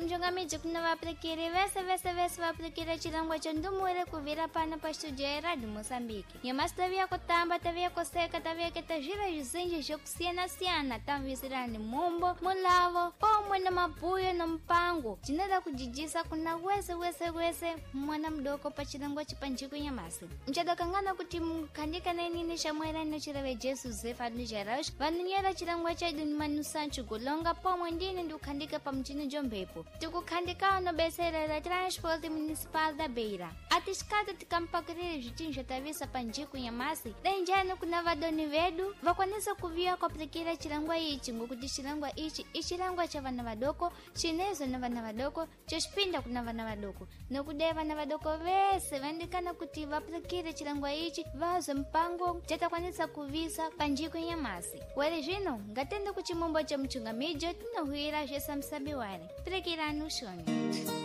Mchungamiji kuna vaprekeri vese vese vese vaprekera chirongwa cha ndumure kuvira pano pa studio ya Radio Moçambique. Nyamasi taviya kutamba, taviya kuseka, taviya keta zviro zvizinji zvokusiyana-siyana, tamvisirani mumbo, mulavo, pomwe na mabuyo na mpango jinoda kujijisa kuna wese wese wese mwana mudoko pa chirongwa chipanjiko nyamasi. Mchadakangana kuti mukhandika na inini shamwera inochireve Jesu Zefa Nijaraush vanonyera chirongwa chedu ni Manu Sancho Golonga pomwe ndini ndikukhandika pa mchini jombepo tikukhandika anobetserera Transport Municipal da Beira. Atisikati tikampakirire zvichinji zvatavisa panjiku nyamasi, denjani kuna vadoni vedu vakwanisa kuviya kwapurikira chirongwa ichi, ngokuti chirongwa ichi ichirongwa cha vana vadoko chinezo na vana vadoko chechipinda kuna vana vadoko. Nokudai vana vadoko vese vandikana kuti vapurikire chirongwa ichi vazwe mupango chatakwanisa kuvisa panjiku nyamasi. Were zvino ngatende kuchimombo cha muchungamijo tinohwira zvesamusabi ware. Purikirani ushoni.